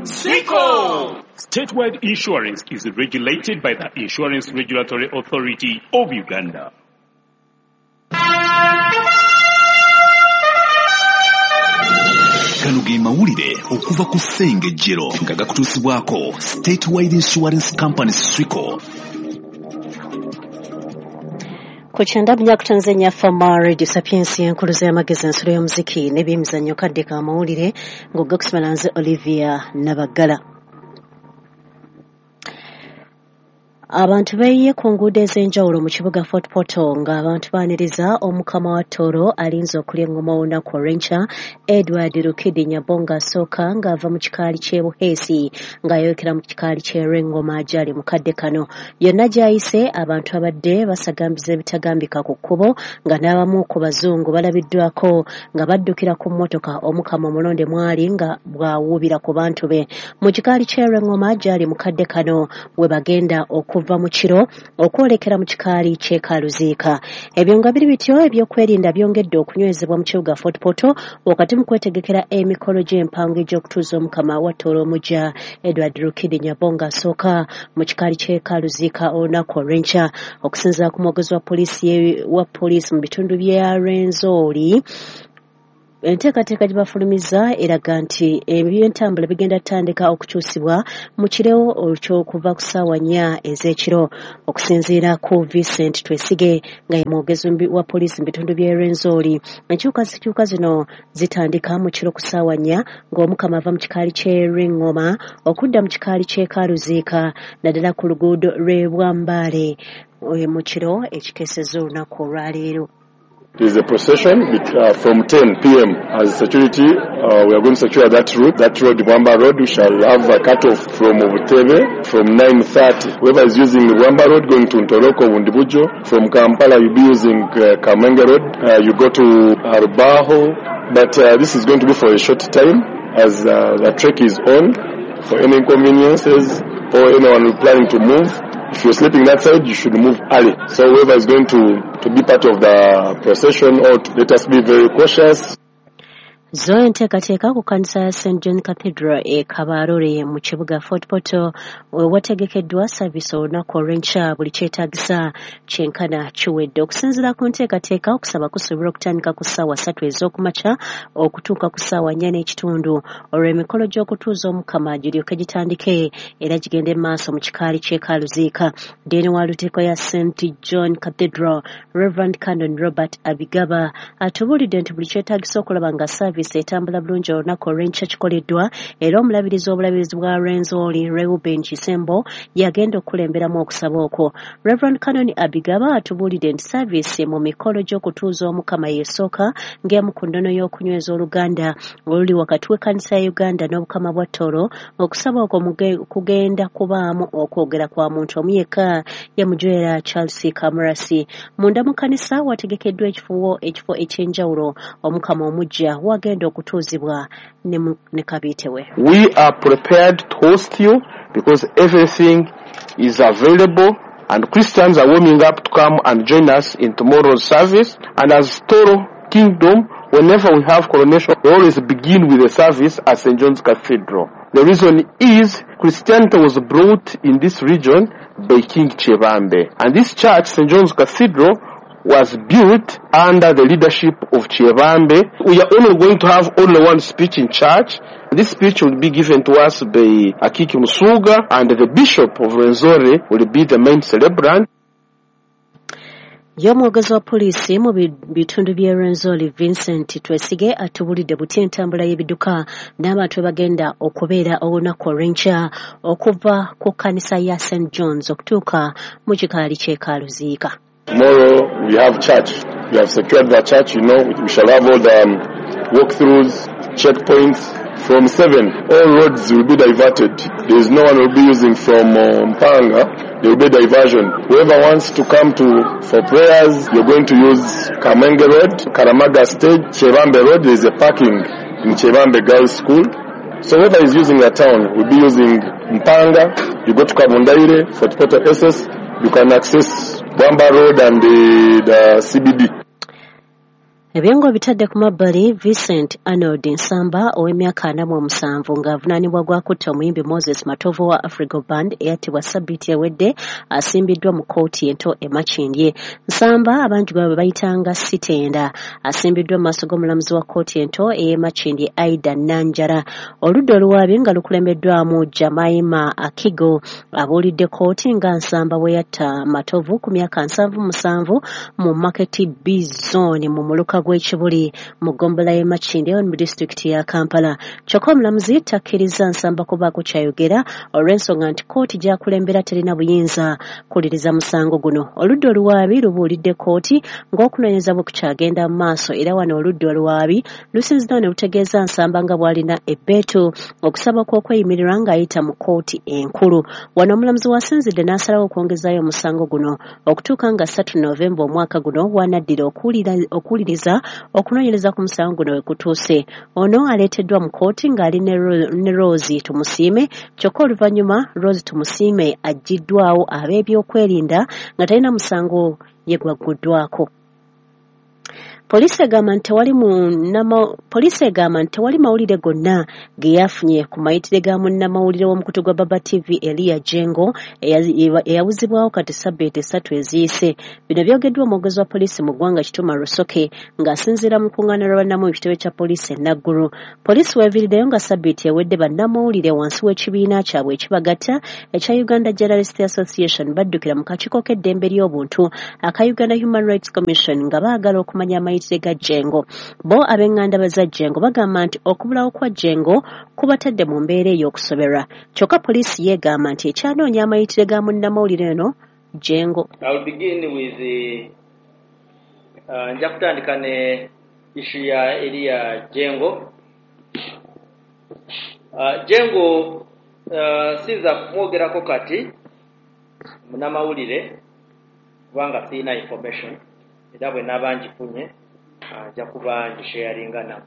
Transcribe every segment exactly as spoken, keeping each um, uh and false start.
Swico! Statewide Insurance is regulated by the Insurance Regulatory Authority of Uganda. Gano ge mawulire okuva ku Ssengejjero nga gakutuusibwako Statewide Insurance Company Swico. Ku kyenda bunyakutanze Fama Radio Sapiens enkuluza y'amagezi ensulo y'omuziki n'ebyemizannyo kadde ka mawulire ng'ogakusomera nze Olivia Nabagala. Abantu beeyiye ku nguudo ez'enjawulo mu kibuga Fort Portal ng'abantu baaniriza omukama wa Tooro alinze okulya engoma olunaku olw'enkya Edward Rukidi Nyabonga asooka ng'ava mu kikaali ky'e Buheesi ng'ayolekera mu kikaali ky'e Rwengoma gy'ali mu kadde kano. Yonna gy'ayise abantu abadde basagambiza ebitagambika ku kkubo nga n'abamu ku bazungu balabiddwako nga baddukira ku mmotoka omukama omulonde mwali nga bw'awuubira ku bantu be. Mu kikaali ky'e Rwengoma gy'ali mu kadde kano we bagenda oku okuva mu kiro okwolekera mu kikaali ky'e Kaluziika. Ebyo nga biri bityo ebyokwerinda byongedde okunywezebwa mu kibuga Fort Portal wakati mu kwetegekera emikolo gy'empango egy'okutuuza omukama wa Tooro omuggya Edward Rukidi Nyabonga asooka mu kikaali ky'e Kaluziika olunaku olw'enkya. Okusinziira ku mwogezi wa poliisi wa poliisi mu bitundu bya Rwenzori, enteekateeka gye bafulumiza eraga nti ebyentambula bigenda kutandika okukyusibwa mu kiro eky'okuva ku ssaawa nnya ez'ekiro. Okusinziira ku Vincent Twesige nga ye mwogezi wa poliisi mu bitundu by'e Rwenzori, enkyukakyuka zino zitandika mu kiro ku ssaawa nnya ng'omukama ava mu kikaali ky'e Rwengoma okudda mu kikaali ky'e Kaluziika naddala ku luguudo lw'e Bwambaale mu kiro ekikeesezza olunaku olwaleero. There is a procession uh, from ten p m As security, uh, we are going to secure that route. That road, Wamba Road, we shall have a cut-off from Obutebe from nine thirty. Whoever is using Wamba Road going to Ntoroko, Wundibujo, from Kampala you'll be using uh, Kamenge Road. Uh, you go to Arubaho, but uh, this is going to be for a short time as uh, the trek is on. For any inconveniences or anyone planning to move, if you're sleeping that side, you should move early. So whoever is going to, to be part of the procession, or to, let us be very cautious. Zo enteekateeka ku kkanisa ya Saint John Cathedral e Kabarole mu kibuga Fort Portal wategekeddwa saavisi olunaku olw'enkya buli kyetaagisa kyenkana kiwedde. Okusinziira ku nteekateeka, okusaba kusobola okutandika ku ssaawa ssatu ez'okumakya okutuuka ku ssaawa nnya n'ekitundu olwo emikolo gy'okutuuza omukama giryoke gitandike era gigende mu maaso mu kikaali ky'e Kaluziika. Deeni wa Lutikko ya Saint John Cathedral Reverend Canon Robert Abigaba atubuulidde nti buli kyetaagisa okulaba nga saavisi etambula bulungi olunaku olw'enkya kikoleddwa era omulabirizi w'obulabirizi bwa Rwenzori Reuben Kisembo yagenda okukulemberamu okusaba okwo. Reverend Canon Abigaba atubuulidde nti saavisi mu mikolo gy'okutuuza omukama y'esooka ng'emu ku nnono y'okunyweza oluganda oluli wakati w'ekkanisa ya Uganda n'obukama bwa Tooro. Okusaba okwo kugenda kubaamu okwogera kwa muntu omu yekka ye Mujwera Charles Kamurasi. Munda mu kkanisa wategekeddwa ekifo ekifo eky'enjawulo omukama omuggya wagenda okutuuzibwa ne kabiite we. We are prepared to host you because everything is available and Christians are warming up to come and join us in tomorrow's service. And as Tooro Kingdom, whenever we have coronation, we always begin with a service at Saint John's Cathedral. The reason is Christianity was brought in this region by King Kyebambe. And this church, Saint John's Cathedral, was built under the leadership of Kyebambe. We are only going to have only one speech in church. This speech will be given to us by Akiki Musuga, and the Bishop of Rwenzori will be the main celebrant. Ye omwogezi wa poliisi mu bitundu by'e Rwenzori Vincent Twesige atubulidde buti entambula y'ebidduka n'abantu bagenda okubeera olunaku olw'enkya okuva ku kkanisa ya Saint John's okutuuka mu kikaali ky'e Kaluziika. Tomorrow we have church. We have secured the church, you know, we shall have all the um, walkthroughs, checkpoints. From seven, all roads will be diverted. There is no one will be using from um, Mpanga. There will be diversion. Whoever wants to come to for prayers, you're going to use Kamenge Road, Karamaga Stage, Kyebambe Road. There is a parking in Kyebambe Girls School. So whoever is using the town will be using Mpanga. You go to Kabundaire, Fort Portal S S. You can access Bwamba Road and the, the C B D. Ebyengo bitadde ku mabbali, Vincent Arnold Nsamba ow'emyaka ana mu omusanvu ng'avunaanibwa gwa kutta omuyimbi Moses Matovu wa Afrigo Band eyattibwa sabbiiti ewedde asimbiddwa mu kkooti ento e Makindye. Nsamba abantu bwe bayitanga Sitenda asimbiddwa mu maaso g'omulamuzi wa kkooti ento ey'e Makindye Aida Nanjara. Oludda oluwaabi nga lukulembeddwamu Jamaima Akigo abuulidde kkooti nga Nsamba bwe yatta Matovu ku myaka nsanvu musanvu mu Market B Zone mu muluka gw'Ekibuli mu ggombolola y'e Makindye mu disitulikiti ya Kampala. Kyokka omulamuzi takkiriza Nsamba kubaako ky'ayogera olw'ensonga nti kkooti gy'akulembera terina buyinza kuwuliriza musango guno. Oludda oluwaabi lubuulidde kkooti ng'okunoonyereza bwe kukyagenda mu maaso, era wano oludda oluwaabi lusinziddewo ne lutegeeza Nsamba nga bw'alina ebbeetu okusaba kw'okweyimirirwa ng'ayita mu kkooti enkulu. Wano omulamuzi wasinzidde n'asalawo okwongezaayo omusango guno okutuuka nga ssatu Novemba omwaka guno w'anaddira okuwuliriza okunoonyereza ku musango guno we kutuuse. Ono aleeteddwa mu kkooti ng'ali ne Rose Tumusiime, kyokka oluvannyuma Rose Tumusiime aggyiddwawo ab'ebyokwerinda nga talina musango ye gwagguddwako. Poliisi egamba nti tewali poliisi egamba nti tewali mawulire gonna ge yafunye ku mayitire ga munnamawulire w'omukutu gwa Baba T V Elia Jengo eyawuzibwawo kati sabbiiti essatu eziyise. Bino byogeddwa omwogezi wa poliisi mu ggwanga Kituma Rusoke ng'asinziira mu lukuŋŋaana lwa bannamawulire mu kitebe kya poliisi e Naggulu. Poliisi weeviiriddeyo nga sabbiiti ewedde bannamawulire wansi w'ekibiina kyabwe ekibagatta ekya Uganda Journalist Association baddukira mu kakiiko k'eddembe ly'obuntu aka Uganda Human Rights Commission nga baagala okumanya amayitire ga Jengo. Bo ab'enganda za Jengo bagamba nti okubulawo kwa Jengo kubatadde mu mbeera ey'okusoberwa. Kyokka poliisi yeegamba nti ekyanoonya amayitire ga munnamawulire eno Jengo. I will begin with the uh, nja kutandika ne issue ya Elia Jengo. Uh, Jengo uh, sinza kumwogerako kati munnamawulire kubanga sirina information, era bwe naaba ngifunye nja kuba ngisharinga nabo.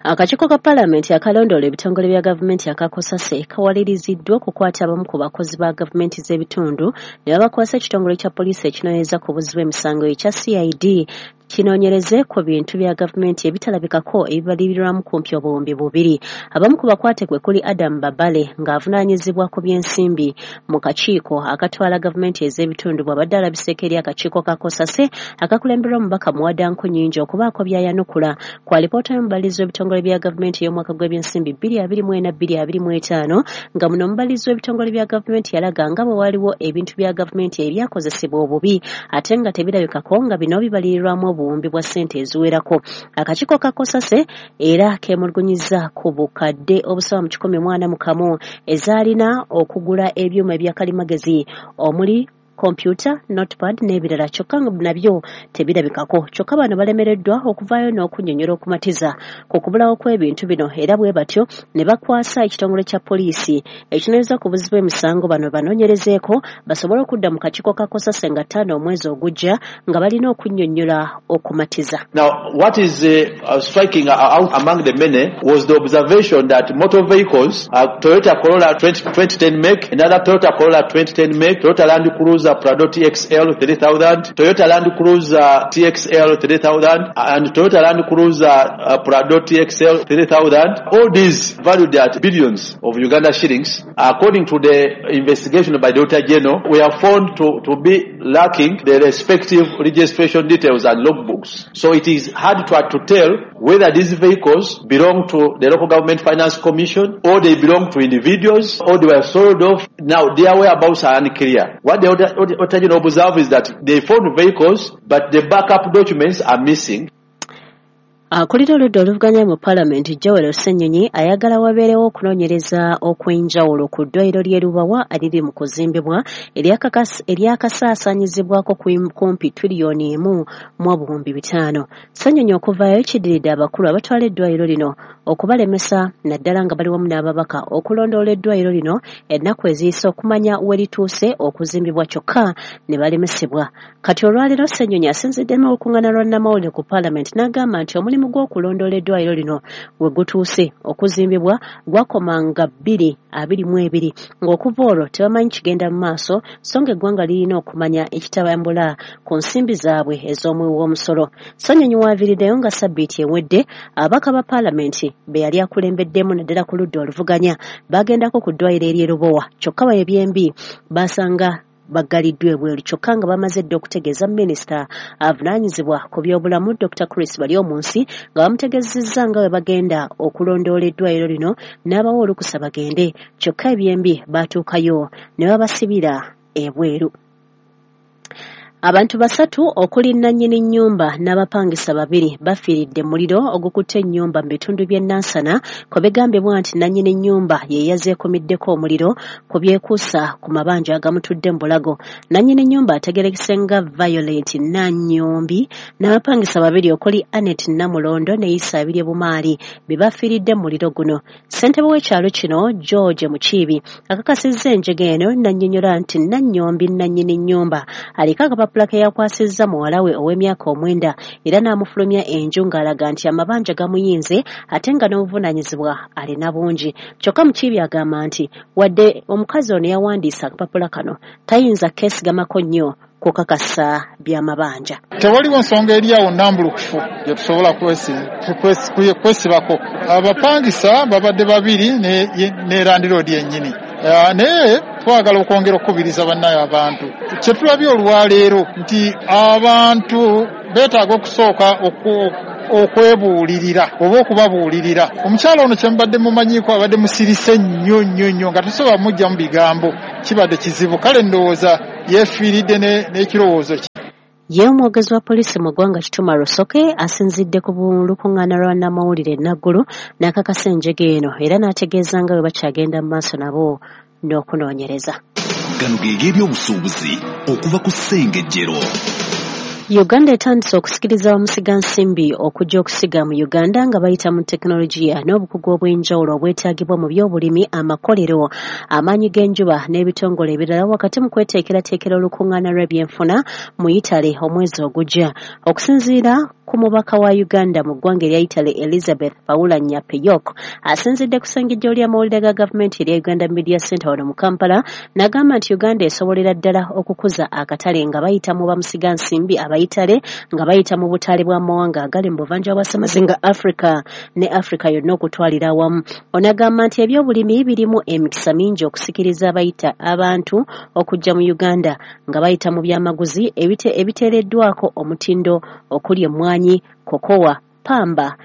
Akakiiko ka Paalamenti akalondoola ebitongole bya gavumenti akakosase kawaliriziddwa okukwata abamu ku bakozi ba gavumenti z'ebitundu ne babakwasa ekitongole kya poliisi ekinoonyereza ku buzzi bw'emisango ekya C I D kinoonyereze ku bintu bya gavumenti ebitalabikako ebibalirirwamu kumpi obuwumbi bubiri. Abamu ku bakwate kwe kuli Adam Babale ng'avunaanyizibwa ku by'ensimbi mu kakiiko akatwala gavumenti ez'ebitundu bw'abadde alabiseeko eri akakiiko ka Kosase akakulemberwa omubaka Muwada Nkunyingi okubaako by'ayanukula ku alipoota y'omubalirizi w'ebitongole bya gavumenti ey'omwaka gw'ebyensimbi bbiri abiri mu ena bbiri abiri mu etaano nga muno omubalirizi w'ebitongole bya gavumenti yalaga nga bwe waliwo ebintu bya gavumenti ebyakozesebwa obubi ate nga tebirabikako nga bino bibalirirwamu obuwumbi bwa ssente eziwerako. Akakiiko ka Kosase era keemulugunyizza ku bukadde obusoba mu kikumi mu ana mu kamu ezaalina okugula ebyuma ebyakalimagezi omuli kompyuta, notepad n'ebirala kyokka nga nabyo tebirabikako. Kyokka bano balemereddwa okuvaayo n'okunnyonnyola okumatiza ku kubulawo kw'ebintu bino era bwe batyo ne bakwasa ekitongole kya poliisi ekinoonyereza ku buzzi bw'emisango bano banoonyerezeeko basobole okudda mu kakiiko ka Kosase nga ttaano omwezi ogujja nga balina okunnyonnyola okumatiza. Now, what is uh, striking out among the many was the observation that motor vehicles, uh, Toyota Corolla twenty ten make, another Toyota Corolla twenty ten make, Toyota Land Cruiser Prado T X L three thousand, Toyota Land Cruiser T X L three thousand, and Toyota Land Cruiser uh, Prado T X L three thousand. All these valued at billions of Uganda shillings. According to the investigation by the Auditor General, we are found to, to be lacking the respective registration details and logbooks. So it is hard to, to tell whether these vehicles belong to the local government finance commission or they belong to individuals or they were sold off. Now their whereabouts are unclear. What the Auditor General observed is that they found vehicles, but the backup documents are missing. Akulira oludda oluvuganya mu Paalamenti Joel Ssenyonyi ayagala wabeerewo okunoonyereza okw'enjawulo ku ddwaliro ly'e Lubawa eriri mu kuzimbibwa eryakasaasaanyizibwako kumpi tiriyoni emu mu obuwumbi bitaano. Ssenyonyi okuvaayo kiddiridde abakulu abatwala eddwaliro lino okubalemesa naddala nga bali wamu n'ababaka okulondoola eddwaliro lino ennaku eziyise okumanya we lituuse okuzimbibwa, kyokka ne balemesebwa. Kati olwaleero Ssenyonyi asinzidde mu lukuŋŋaana lwa nnamawulire ku Paalamenti n'agamba nti omulimu gw'okulondoola eddwaliro lino we gutuuse okuzimbibwa gwakomanga bbiri abiri mu ebiri, ng'okuva olwo tebamanyi kigenda mu maaso, so ng'eggwanga lirina okumanya ekitabambula ku nsimbi zaabwe ez'omuwi w'omusolo. Ssenyonyi waaviiriddeyo nga sabbiiti ewedde ababaka ba Paalamenti be yali akulembeddemu naddala ku ludda oluvuganya bagendako ku ddwaliro ery'e Lubowa, kyokka bayo ebyembi basanga baggaliddwa ebweru, kyokka nga bamaze dda okutegeeza minisita avunaanyizibwa ku byobulamu Dokita Chris Baryomunsi nga bamutegeezezza nga bwe bagenda okulondoola eddwaliro lino n'abawa olukusa bagende, kyokka ebyembi baatuukayo ne babasibira ebweru. Abantu basatu okuli nnannyini nnyumba n'abapangisa babiri bafiiridde muliro ogukutte ennyumba mu bitundu by'e Nansana kwe bigambibwa nti nnannyini nnyumba ye yazeekumiddeko omuliro ku byekuusa ku mabanja agamutudde mu bulago. Nnannyini nnyumba ategeerekese nga Violet Nanyombi n'abapangisa babiri okuli Annet Namulondo ne Isa Abirye Bumaali be bafiiridde mu muliro guno. Ssentebe w'ekyalo kino George Mukiibi akakasizza enjega eno n'annyonnyola nti Nanyombi nnannyini nnyumba aliko akapapula ke yakwasizza muwala we ow'emyaka omwenda era n'amufulumya enju ng'alaga nti amabanja gamuyinze ate nga n'obuvunaanyizibwa alina bungi. Kyokka Mukiibi agamba nti wadde omukazi ono yawandiisa akapapula kano tayinza keesigamako nnyo kukakasa by'amabanja. Tewaliwo nsonga eri awo nnambulukufu gye tusobola kwesibako. Abapangisa babadde babiri ne, ne landiroodi yennyini. Uh, naye twagala okwongera okukubiriza bannaye abantu. Kye tulabye olwaleero nti abantu beetaaga okusooka okwebuulirira oba okubabuulirira. Omukyala ono kye mubadde mumanyiiko abadde musirise nnyo nnyo nnyo nga tosobola mujja mu bigambo, kibadde kizibu. Kale ndowooza yeefiiridde n'ekirowoozo kye. Ye omwogezi wa poliisi mu ggwanga Kituma Rusoke asinzidde ku lukuŋŋaana lwa nnamawulire e Naggulu n'akakasa enjega eno era n'ategeeza nga bwe bakyagenda mu maaso nabo n'okunoonyereza. Gano ge g'ebyobusuubuzi okuva ku Ssengejjero. Uganda etandise okusikiriza bamusigansimbi okujja okusiga mu Uganda nga bayita mu tekinologiya n'obukugu obw'enjawulo obwetaagibwa mu byobulimi, amakolero, amaanyi g'enjuba n'ebitongole ebirala wakati mu kweteekerateekera olukuŋŋaana lw'ebyenfuna mu Italy omwezi ogujja. Okusinziira ku mubaka wa Uganda mu ggwanga erya Italy Elizabeth Paula Nyapeyok asinzidde ku ssengejjo ly'amawulire ga gavumenti erya Uganda Media Center wano mu Kampala n'agamba nti Uganda esobolera ddala okukuza akatale nga bayita mu bamusigansimbi abayitale nga bayita mu butale bw'amawanga agali mu buvanjuba bwa Ssemazinga Africa ne Africa yonna okutwalira awamu. Ono agamba nti ebyobulimi birimu emikisa mingi okusikiriza abayita abantu okujja mu Uganda nga bayita mu byamaguzi ebite ebiteereddwako omutindo okuli emmwanyi, kokowa, pamba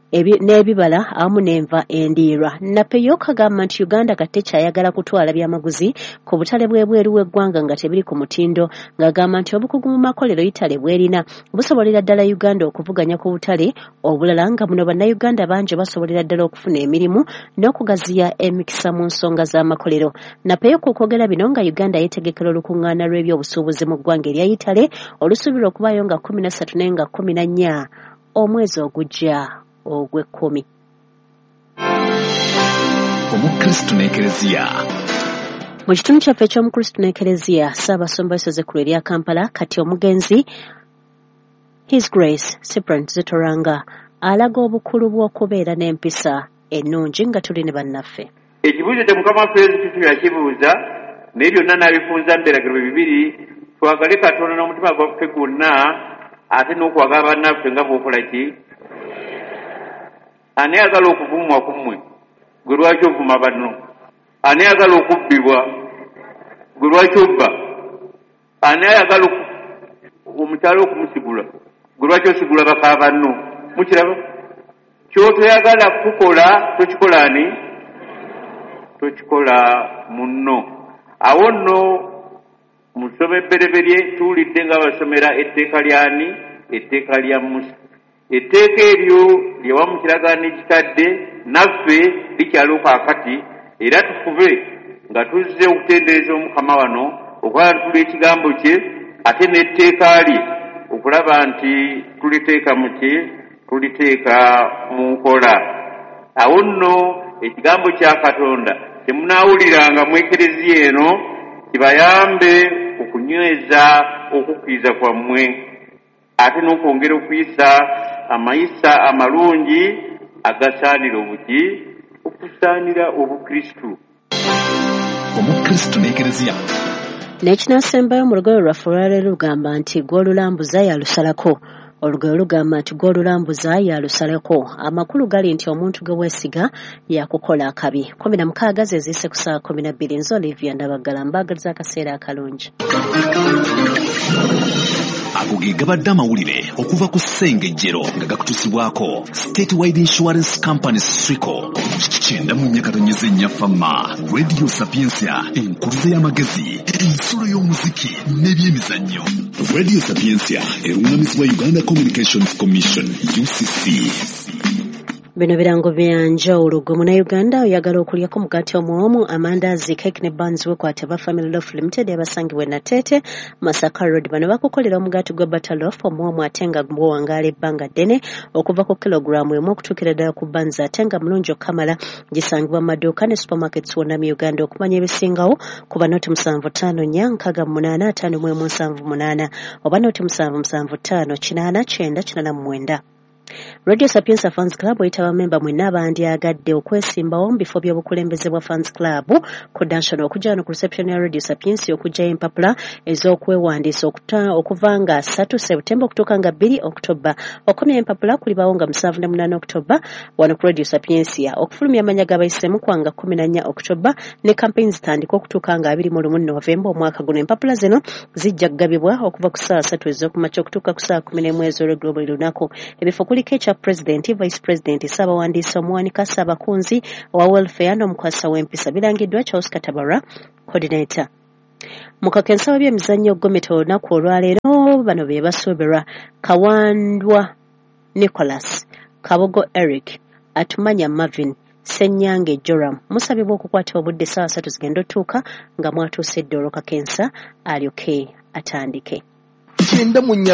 n'ebibala awamu n'enva endiirwa. Napeyok agamba nti Uganda kati tekyayagala kutwala byamaguzi ku butale bw'ebweru w'eggwanga nga tebiri ku mutindo, ng'agamba nti obukugu mu makolero Italy bw'erina busobolera ddala Uganda okuvuganya ku butale obulala nga muno bannayuganda bangi basobolera ddala okufuna emirimu n'okugaziya emikisa mu nsonga z'amakolero. Napeyok okwogera bino nga Uganda yeetegekera olukuŋŋaana lw'ebyobusuubuzi mu ggwanga erya Italy olusuubirwa okubaayo nga kkumi na ssatu naye nga kkumi na nnya omwezi ogujja ogw'ekkumi. Omukristu n'Ekereziya. Mu kitundu kyaffe eky'Omukristu n'Ekereziya, Ssaabasumba w'essaza ekkulu erya Kampala kati omugenzi His Grace Cyprian Zitoranga alaga obukulu bw'okubeera n'empisa ennungi nga tuli ne bannaffe. Ekibuuzo kya Mukama waffe Yesu Kristo yakibuuza naye byonna n'abifunza mu biragiro bibiri, twagale Katonda n'omutima gwaffe gwonna ate n'okwagala bannaffe nga bw'okola ki? Ani ayagala okuvumwa ku mmwe? Gwe lwaki ovuma banno? Ani ayagala okubbibwa? Gwe lwaki obba? Ani ayagala omukyala okumusigula? Gwe lwaki osigula baka banno? Mukiraba? Ky'otoyagala kukola tokikola ani? Tokikola munno. Awo nno mu ssoma ebbereberye tuwulidde nga basomera etteeka ly'ani? Etteeka lya Musa. Etteeka eryo lye wamu kiragaano ekikadde naffe likyaliwo kaakati, era tufube nga tuzze okutendereza Omukama wano okulaba tuli ekigambo kye ate n'etteeka lye okulaba nti tuliteeka mu ki? Tuliteeka mu nkola. Awo nno ekigambo kya Katonda temunaawuliranga mu ekereziya eno kibayambe okunyweza okukkiriza kwammwe, ate n'okwongera okuyisa amayisa amalungi agasaanira obuki okusaanira Obukristu. Omukristu n'ekereziya. N'ekinasembayo mu lugero lwaffe olwaleero lugamba nti gw'olulambuza yalusalako. Olugero lugamba nti gw'olulambuza yalusalako. Amakulu gali nti omuntu gwe weesiga yakukola akabi. Kumi na mukaaga ze ziyise ku ssaawa kumi na bbiri. Nze Olivia Ndabaggala, mbaagaliza akaseera akalungi. Ago ge gabadde amawulire okuva ku Ssengejjero nga gakutuusibwako Statewide Insurance Company Swico. Kyenda mu nnya katonyeze nnya Fama, Radio Sapientia, enkuluze y'amagezi, ensulo y'omuziki n'ebyemizannyo. Radio Sapientia eruŋŋamizibwa Uganda Communications Commission U C C. Bino birango bya njawulo. Gwe Munnayuganda oyagala okulyako mugaati omuwomu, amandaazi, cake ne buns, weekwate ba Family Loaf Limited abasangibwa e Nateete, Masaka Road. Bano bakukolera omugaati gwa butter loaf omuwomu ate nga guwangaala ebbanga ddene okuva ku kilogulaamu emu okutuukira ddala ku buns ate nga mulungi okukamala. Gisangibwa mu maduuka ne supermarkets wonna mu Uganda. Okumanya ebisingawo kuba noti musanvu ttaano nnya nkaaga mu munaana ataano mu emu nsanvu munaana oba noti musanvu musanvu ttaano kinaana kyenda kinaana mu mwenda. Radio Sapientia Fans Club oyita bamemba mwenna abandyagadde okwesimbawo mu bifo by'obukulembeze bwa Fans Club ku National okujja wano ku reception ya Radio Sapientia okuggyayo empapula ez'okwewandiisa okuva nga ssatu Septemba okutuuka nga bbiri Oktoba. Okumya empapula kulibawo nga musanvu na munaana Oktoba wano ku Radio Sapientia. Okufulumya amannya g'abayiseemu kwa nga kkumi na nnya Oktoba ne campaign zitandika okutuuka nga abiri mu lumu Novemba omwaka guno. Empapula zino zijja kugabibwa okuva ku ssaawa ssatu ez'okumakya okutuuka ku ssaawa kkumi n'emu ez'olweggulo buli lunaku. Ebifo kuliko ekya President, Vice President, Ssaabawandiisi, omuwanika, Ssaabakunzi owa welfare n'omukwasa w'empisa. Birangiddwa Charles Katabara, coordinator. Mu kakensa w'ebyemizannyo Gometa olunaku olwaleero bano be basuubirwa: Kawandwa Nicholas, Kabogo Eric, Atumanya Marvin, Ssenyange Joram. Musabibwa okukwata obudde ssaawa ssatu zigenda otuuka nga mwatuuse dda olwo kakensa alyoke atandike. Kyenda mu nnya